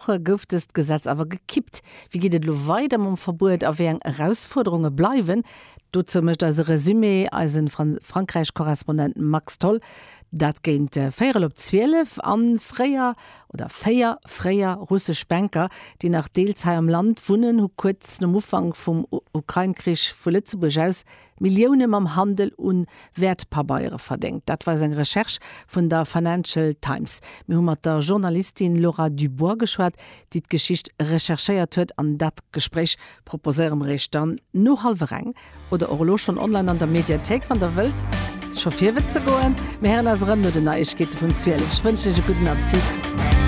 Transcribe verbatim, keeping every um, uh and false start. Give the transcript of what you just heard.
Gouf dëst Gesetz awer gekippt. Wéi geet et elo weider mam Verbuet a wéi eng Erausfuerderunge bleiwen? Dozou mécht eise Resumé eise Frankräich-Korrespondent Max Tholl. Dat géint véierel op zwielef. An fréier oder véier fréier russesch Banker, déi nach deels hei am Land wunnen, hu kuerz nom Ufank vum Ukrain-Krich vu Lëtzebuerg aus Millioune mam Handel u Wäertpabeiere verdéngt. Dat weist eng Recherche vun der Financial Times. Mir hu mat der Journalistin Laura Dubois geschwat, déi d'Geschicht recherchéiert huet an dat Gespréich proposéiere mer iech dann no hallwer eng oder och elo schonn online an der Mediathéik, wann der wëllt scho virwëtze goen. Mir héieren eis erëm no den Neiegkeete vun zwielef. Ech wënschen iech e gudden Appetit.